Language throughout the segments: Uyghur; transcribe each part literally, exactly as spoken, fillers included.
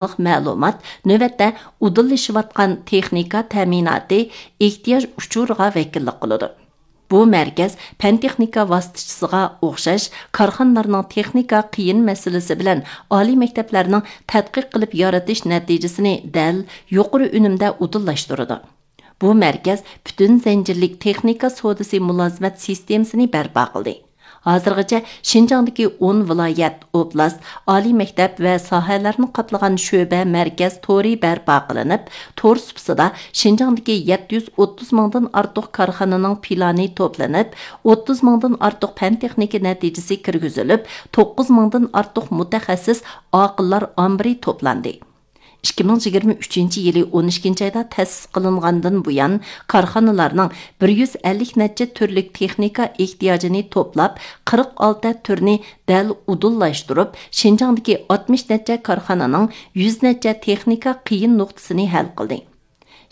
مەلۇمات نۆۋەتتە ئۇدۇللىشىۋاتقان تېخنىكا تەمىناتى ئېھتىياج ئۇچۇرىغا ۋەكىللىك قىلىدۇ. بۇ مەركەز پەن تېخنىكا ۋاسىتىچىسىغا ئوخشاش كارخانىلارنىڭ تېخنىكا قىيىن مەسىلىسى بىلەن ئالىي مەكتەپلەرنىڭ تەتقىق قىلىپ يارىتىش نەتىجىسىنى دەل يۇقىرى ئۈنۈمدە ئۇدۇللاشتۇرىدۇ. بۇ مەركەز پۈتۈن زەنجىرلىك تېخنىكا سودىسى مۇلازىمەت سىستېمىسىنى بەرپا قىلدى. ھازىرغىچە شىنجاڭدىكى ئون ۋىلايەت، ئوبلاست، ئالىي مەكتەپ ۋە ساھەلەرنى قاپلىغان شۆبە مەركەز تورى بەرپا قىلىنىپ، تور سۇپىسىدا شىنجاڭدىكى يەتتە يۈز ئوتتۇز مىڭدىن ئارتۇق كارخانىنىڭ پىلانى توپلىنىپ، ئوتتۇز مىڭدىن ئارتۇق پەن تېخنىكا نەتىجىسى كىرگۈزۈلۈپ، توققۇز مىڭدىن ئارتۇق مۇتەخەسسىس ئاقىللار ئامبىرى توپلاندى. ئىككى مىڭ يىگىرمە ئۈچىنچى يىلى ئون ئىككىنچى ئايدا تەسىس قىلىنغاندىن بۇيان، كارخانىلارنىڭ بىر يۈز ئەللىك نەچچە تۈرلۈك تېخنىكا ئېھتىياجىنى توپلاپ، قىرىق ئالتە تۈرنى دەل ئۇدۇللاشتۇرۇپ، شىنجاڭدىكى ئاتمىش نەچچە كارخانىنىڭ يۈز نەچچە تېخنىكا قىيىن نۇقتىسىنى ھەل قىلدى.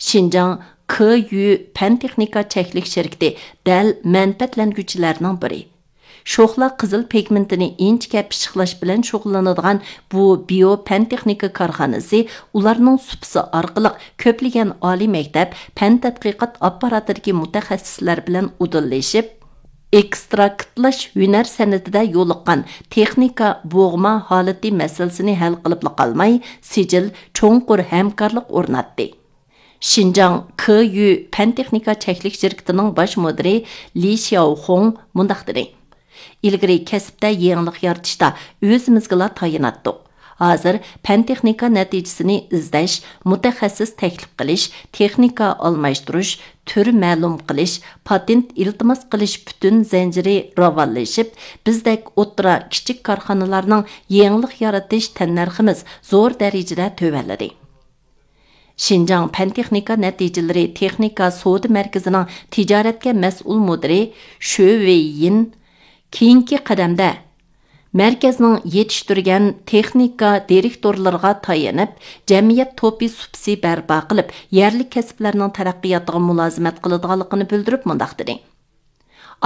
شىنجاڭ كيۇ پەن تېخنىكا چەكلىك شىركىتى دەل مەنپەئەتلەنگۈچىلەرنىڭ بىرى. شوخلا قىزىل پىگمېنتىنى ئىنچىكە پىششىقلاش بىلەن شۇغۇللىنىدىغان بۇ بىيو پەن تېخنىكا كارخانىسى ئۇلارنىڭ سۇپىسى ئارقىلىق كۆپلىگەن ئالىي مەكتەپ، پەن تەتقىقات ئاپپاراتىدىكى مۇتەخەسسىسلەر بىلەن ئۇدۇللىشىپ، ئېكستراكتلاش ھۈنەر سەنئىتىدە يولۇققان تېخنىكا بوغما ھالىتى مەسىلىسىنى ھەل قىلىپلا قالماي، سىجىل چوڭقۇر ھەمكارلىق ئورناتتى. شىنجاڭ كيۇ پەن تېخنىكا چەكلىك شىركىتىنىڭ باش مۇدىرى لى شياۋخۇڭ مۇنداق دېدى: «ئىلگىرى كەسىپتە يېڭىلىق يارىتىشتا ئۆزىمىزگىلا تايىناتتۇق. ھازىر پەن تېخنىكا نەتىجىسىنى ئىزدەش، مۇتەخەسسىس تەكلىپ قىلىش، تېخنىكا ئالماشتۇرۇش، تۈر مەلۇم قىلىش، پاتېنت ئىلتىماس قىلىش پۈتۈن زەنجىرى راۋانلىشىپ، بىزدەك ئوتتۇرا، كىچىك كارخانىلارنىڭ يېڭىلىق يارىتىش تەننەرخىمىز زور دەرىجىدە تۆۋەنلىدى.» شىنجاڭ پەن تېخنىكا نەتىجىلىرى تېخنىكا سودا مەركىزىنىڭ تىجارەتكە مەسئۇل مۇدىرى شۆ ۋېييىن كېيىنكى قەدەمدە مەركەزنىڭ يېتىشتۈرگەن تېخنىكا دىرېكتورلىرىغا تايىنىپ، جەمئىيەت توپى سۇپىسى بەرپا قىلىپ، يەرلىك كەسىپلەرنىڭ تەرەققىياتىغا مۇلازىمەت قىلىدىغانلىقىنى بىلدۈرۈپ مۇنداق دېدى: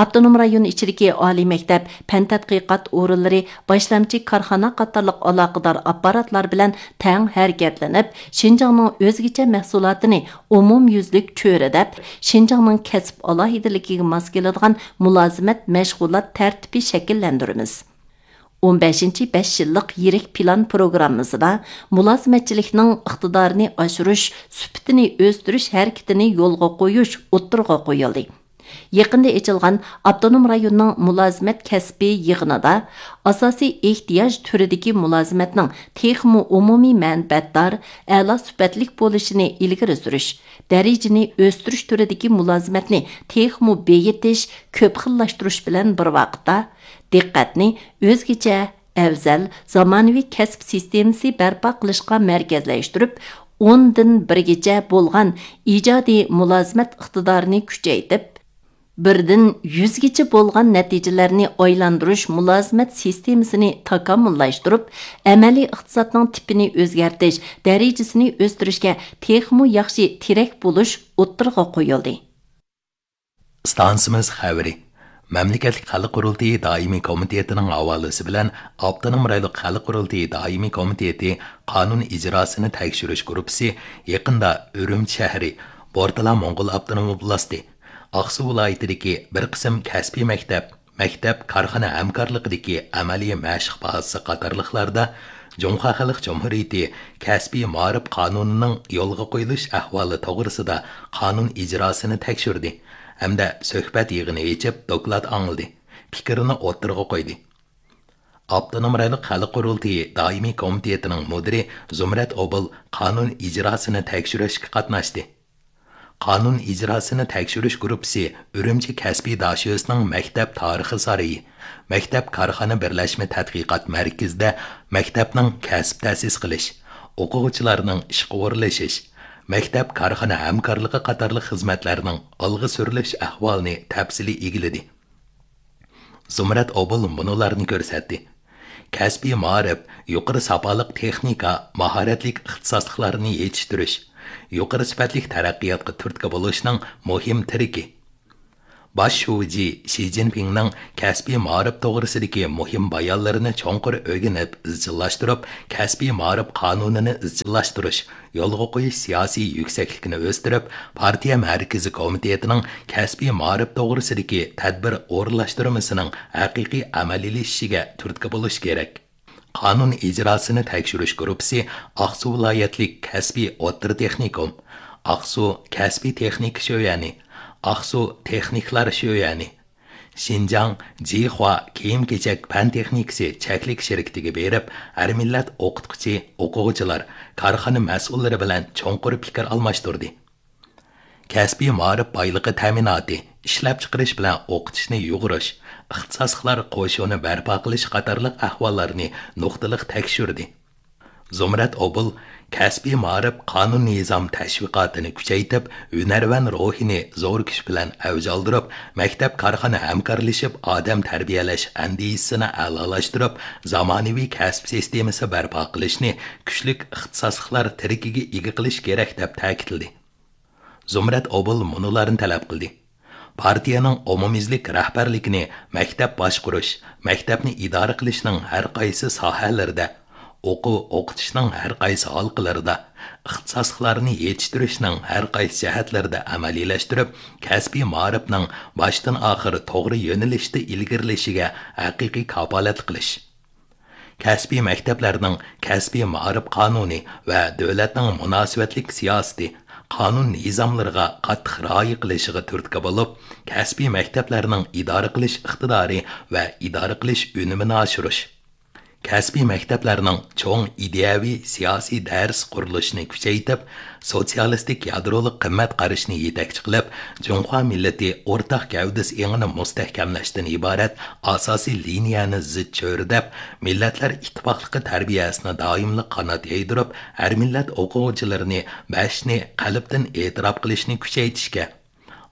ئاپتونوم رايون ئىچىدىكى ئالىي مەكتەپ، پەن تەتقىقات ئورۇنلىرى، باشلامچى كارخانا قاتارلىق ئالاقىدار ئاپپاراتلار بىلەن تەڭ ھەرىكەتلىنىپ، شىنجاڭنىڭ ئۆزگىچە مەھسۇلاتىنى ئومۇميۈزلۈك چۆرىدەپ، شىنجاڭنىڭ كەسىپ ئالاھىدىلىكىگە ماس كېلىدىغان مۇلازىمەت مەشغۇلات تەرتىپى شەكىللەندۈرىمىز. ئون بەشىنچى بەش يىللىق يىرىك پىلان پروگراممىسىدا مۇلازىمەتچىلىكنىڭ ئىقتىدارىنى ئاشۇرۇش، سۈپىتىنى ئۆستۈرۈش ھەرىكىتىنى يولغا قويۇش ئوتتۇرىغا قويۇلدى. يېقىندا ئېچىلغان ئاپتونوم رايوننىڭ مۇلازىمەت كەسپى يىغىنىدا ئاساسىي ئېھتىياج تۈرىدىكى مۇلازىمەتنىڭ تېخىمۇ ئومۇمىي مەنپەئەتدار، ئەلا سۈپەتلىك بولۇشىنى ئىلگىرى سۈرۈش، دەرىجىنى ئۆستۈرۈش تۈرىدىكى مۇلازىمەتنى تېخىمۇ بېيىتىش، كۆپ خىللاشتۇرۇش بىلەن بىر ۋاقىتتا، دىققەتنى ئۆزگىچە، ئەۋزەل، زامانىۋى كەسىپ سىستېمىسى بەرپا قىلىشقا مەركەزلەشتۈرۈپ، ئوندىن بىرگىچە بولغان ئىجادىي مۇلازىمەت ئىقتىدارىنى كۈچەيتىپ، بىردىن يۈزگىچە بولغان نەتىجىلەرنى ئايلاندۇرۇش مۇلازىمەت سىستېمىسىنى تاكامۇللاشتۇرۇپ، ئەمەلىي ئىقتىسادنىڭ تىپىنى ئۆزگەرتىش، دەرىجىسىنى ئۆستۈرۈشكە تېخىمۇ ياخشى تىرەك بولۇش ئوتتۇرىغا قويۇلدى. ئىستانسىمىز خەۋىرى. مەملىكەتلىك خەلق قۇرۇلتىيى دائىمىي كومىتېتىنىڭ ھاۋالىسى بىلەن ئاپتونوم رايونلۇق خەلق قۇرۇلتىيى دائىمىي كومىتېتى قانۇن ئىجراسىنى تەكشۈرۈش گۇرۇپپىسى يېقىندا ئۈرۈمچى شەھىرى، بورتالا موڭغۇل ئاپتونوم ئوبلاستى، ئاقسۇ ۋىلايىتىدىكى بىر قىسىم كەسپىي مەكتەپ، مەكتەپ، كارخانا ھەمكارلىقىدىكى ئەمەلىي مەشىق بازىسى قاتارلىقلاردا جۇڭخۇا خەلق جۇمھۇرىيىتى كەسپىي مائارىپ قانۇنىنىڭ يولغا قويۇلۇش ئەھۋالى توغرىسىدا قانۇن ئىجراسىنى تەكشۈردى ھەمدە سۆھبەت يىغىنى ئېچىپ، دوكلات ئاڭلىدى، پىكرىنى ئوتتۇرىغا قويدى. ئاپتونوم رايونلۇق خەلق قۇرۇلتىيى دائىمىي كومىتېتىنىڭ مۇدىرى زۇمرەت ئوبۇل قانۇن ئىجراسىنى تەكشۈرۈشكە قاتناشتى. قانۇن ئىجراسىنى تەكشۈرۈش گۇرۇپپىسى ئۈرۈمچى كەسپىي داشۆسىنىڭ مەكتەپ تارىخى سارىيى، مەكتەپ كارخانا بىرلەشمە تەتقىقات مەركىزىدە مەكتەپنىڭ كەسىپ تەسىس قىلىش، ئوقۇغۇچىلارنىڭ ئىشقا ئورۇنلىشىش، مەكتەپ كارخانا ھەمكارلىقى قاتارلىق خىزمەتلەرنىڭ ئالغا سۈرۈلۈش ئەھۋالىنى تەپسىلىي ئىگىلىدى. زۇمرەت ئوبۇل مۇنۇلارنى كۆرسەتتى: كەسپىي مائارىپ يۇقىرى ساپالىق تېخنىكا، ماھارەتلىك ئىختىساسلىقلارنى يېتىشتۈرۈش، يۇقىرى سۈپەتلىك تەرەققىياتقا تۈرتكە بولۇشنىڭ مۇھىم تىرىكى. باش شۇجى شى جىنپىڭنىڭ كەسپىي مائارىپ توغرىسىدىكى مۇھىم بايانلىرىنى چوڭقۇر ئۆگىنىپ ئىزچىللاشتۇرۇپ، كەسپىي مائارىپ قانۇنىنى ئىزچىللاشتۇرۇش، يولغا قويۇش سىياسىي يۈكسەكلىكىنى ئۆستۈرۈپ، پارتىيە مەركىزىي كومىتېتىنىڭ كەسپىي مائارىپ توغرىسىدىكى تەدبىر ئورۇنلاشتۇرمىسىنىڭ ھەقىقىي ئەمەلىيلىشىشىگە تۈرتكە بولۇش كېرەك. قانۇن ئىجراسىنى تەكشۈرۈش گۇرۇپپىسى ئاقسۇ ۋىلايەتلىك كەسپىي ئوتتۇرا تېخنىكوم، ئاقسۇ كەسپىي تېخنىكا شۆيەنى، ئاقسۇ تېخنىكلار شۆيەنى، شىنجاڭ جىخۇا كىيىم-كېچەك پەن تېخنىكىسى چەكلىك شىركىتىگە بېرىپ، ھەر مىللەت ئوقۇتقۇچى، ئوقۇغۇچىلار، كارخانا مەسئۇللىرى بىلەن چوڭقۇر پىكىر ئالماشتۇردى. كەسپىي مائارىپ بايلىقى تەمىناتى، ئىشلەپچىقىرىش بىلەن ئوقۇتۇشنى يۇغۇرۇش، ئىختىساسلىقلار قوشۇنى بەرپا قىلىش قاتارلىق ئەھۋاللارنى نۇقتىلىق تەكشۈردى. زۇمرەت ئوبۇل كەسپىي مائارىپ قانۇن نىزام تەشۋىقاتىنى كۈچەيتىپ، ھۈنەرۋەن روھىنى زور كۈچ بىلەن ئەۋج ئالدۇرۇپ، مەكتەپ كارخانا ھەمكارلىشىپ ئادەم تەربىيەلەش ئەندىزىسىنى ئەلالاشتۇرۇپ، زامانىۋى كەسىپ سىستېمىسى بەرپا قىلىشنى كۈچلۈك ئىختىساسلىقلار تىرىكىگە ئىگە قىلىش كېرەك، دەپ تەكىتلىدى. زۇمرەت ئوبۇل مۇنۇلارنى تەلەپ قىلدى: پارتىيەنىڭ ئومۇميۈزلۈك رەھبەرلىكىنى مەكتەپ باشقۇرۇش، مەكتەپنى ئىدارە قىلىشنىڭ ھەر قايسى ساھەلىرىدە، ئوقۇ ئوقۇتۇشنىڭ ھەر قايسى ھالقىلىرىدا، ئىختىساسلىقلارنى يېتىشتۈرۈشنىڭ ھەر قايسى جەھەتلىرىدە ئەمەلىيلەشتۈرۈپ، كەسپىي مائارىپنىڭ باشتىن ئاخىر توغرا يۆنىلىشتە ئىلگىرىلىشىگە ھەقىقىي كاپالەتلىك قىلىش. كەسپىي مەكتەپلەرنىڭ كەسپىي مائارىپ قانۇنى ۋە دۆلەتنىڭ مۇناسىۋەتلىك سىياسىتى، قانۇن نىزاملىرىغا قاتتىق رىئايە قىلىشىغا تۈرتكە بولۇپ، كەسپىي مەكتەپلەرنىڭ ئىدارە قىلىش ئىقتىدارى ۋە ئىدارە قىلىش ئۈنۈمىنى ئاشۇرۇش. كەسپىي مەكتەپلەرنىڭ چوڭ ئىدىيەۋى سىياسىي دەرس قۇرۇلۇشىنى كۈچەيتىپ، سوتسىيالىستىك يادرولۇق قىممەت قارىشىنى يېتەكچى قىلىپ، جۇڭخۇا مىللىتى ئورتاق گەۋدىسى ئېڭىنى مۇستەھكەملەشتىن ئىبارەت ئاساسىي لىنىيەنى زىچ چۆرىدەپ، مىللەتلەر ئىتتىپاقلىقى تەربىيەسىنى دائىملىق قانات يايدۇرۇپ، ھەر مىللەت ئوقۇغۇچىلىرىنى بەشنى قەلبتىن ئېتىراپ قىلىشنى كۈچەيتىشكە،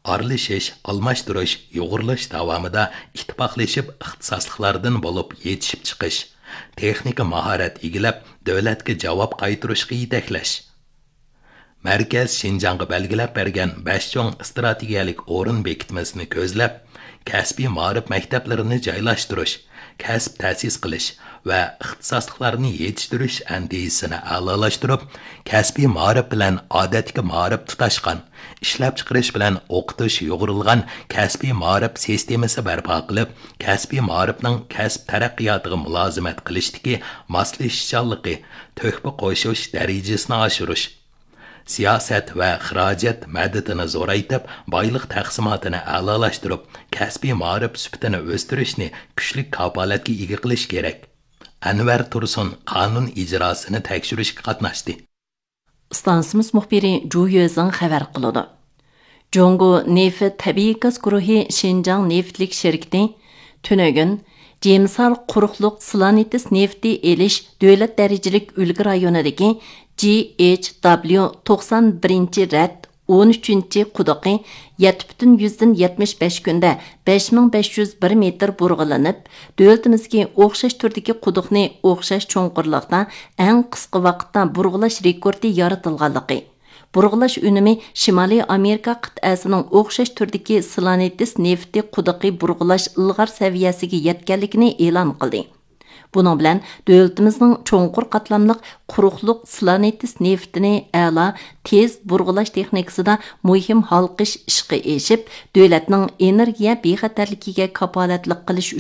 ئارىلىشىش، ئالماشتۇرۇش، يۇغۇرۇلۇش داۋامىدا ئىتتىپاقلىشىپ ئىختىساسلىقلاردىن بولۇپ يېتىشىپ چىقىش، تېخنىكا ماھارەت ئىگىلەپ، دۆلەتكە جاۋاب قايتۇرۇشقا يېتەكلەش. مەركەز شىنجاڭغا بەلگىلەپ بەرگەن بەش چوڭ ئىستراتېگىيەلىك ئورۇن بېكىتمىسىنى كۆزلەپ، كەسپىي مائارىپ مەكتەپلىرىنى جايلاشتۇرۇش، كەسىپ تەسىس قىلىش ۋە ئىختىساسلىقلارنى يېتىشتۈرۈش ئەندىزىسىنى ئەلالاشتۇرۇپ، كەسپىي مائارىپ بىلەن ئادەتتىكى مائارىپ تۇتاشقان، ئىشلەپچىقىرىش بىلەن ئوقۇتۇش يۇغۇرۇلغان كەسپىي مائارىپ سىستېمىسى بەرپا قىلىپ، كەسپىي مائارىپنىڭ كەسىپ تەرەققىياتىغا مۇلازىمەت قىلىشتىكى ماسلىشىشچانلىقى، تۆھپە قوشۇش دەرىجىسىنى ئاشۇرۇش، سىياسەت ۋە خىراجەت مەدىتىنى زورايتىپ، بايلىق تەقسىماتىنى ئەلالاشتۇرۇپ، كەسپىي مائارىپ سۈپىتىنى ئۆستۈرۈشنى كۈچلۈك كاپالەتكە ئىگە قىلىش كېرەك. ئەنۋەر تۇرسۇن قانۇن ئىجراسىنى تەكشۈرۈشكە قاتناشتى. ئىستانسىمىز مۇخبىرى جۇ يۆزىڭ خەۋەر قىلىدۇ. جۇڭگو نېفىت تەبىئىي گاز گۇرۇھى شىنجاڭ نېفىتلىك شىركىتى تۈنۈگۈن جىمسار قۇرۇقلۇق سلانېتس نېفىتى ئېلىش دۆلەت دەرىجىلىك ئۈلگە رايونىدىكى جى ئېچ دابليۇ توقسان بىرىنچى رەت ئون ئۈچىنچى قۇدۇقى يەتتە پۈتۈن يۈزدىن يەتمىش بەش كۈندە بەش مىڭ بەش يۈز بىر مېتىر بۇرغىلىنىپ، دۆلىتىمىزدىكى ئوخشاش تۈردىكى قۇدۇقنى ئوخشاش چوڭقۇرلۇقتا ئەڭ قىسقا ۋاقىتتا بۇرغىلاش رېكورتى يارىتىلغانلىقى، بۇرغىلاش ئۈنۈمى شىمالىي ئامېرىكا قىتئەسىنىڭ ئوخشاش تۈردىكى سلانېتس نېفىتى قۇدۇقى بۇرغىلاش ئىلغار سەۋىيەسىگە يەتكەنلىكىنى ئېلان قىلدى. بۇنىڭ بىلەن دۆلىتىمىزنىڭ چوڭقۇر قاتلاملىق قۇرۇقلۇق سلانېتس نېفىتىنى ئەلا تېز بۇرغىلاش تېخنىكىسىدا مۇھىم ھالقىش ئىشقا ئېشىپ، دۆلەتنىڭ ئېنېرگىيە بىخەتەرلىكىگە كاپالەتلىك قىلىش ئۈچۈن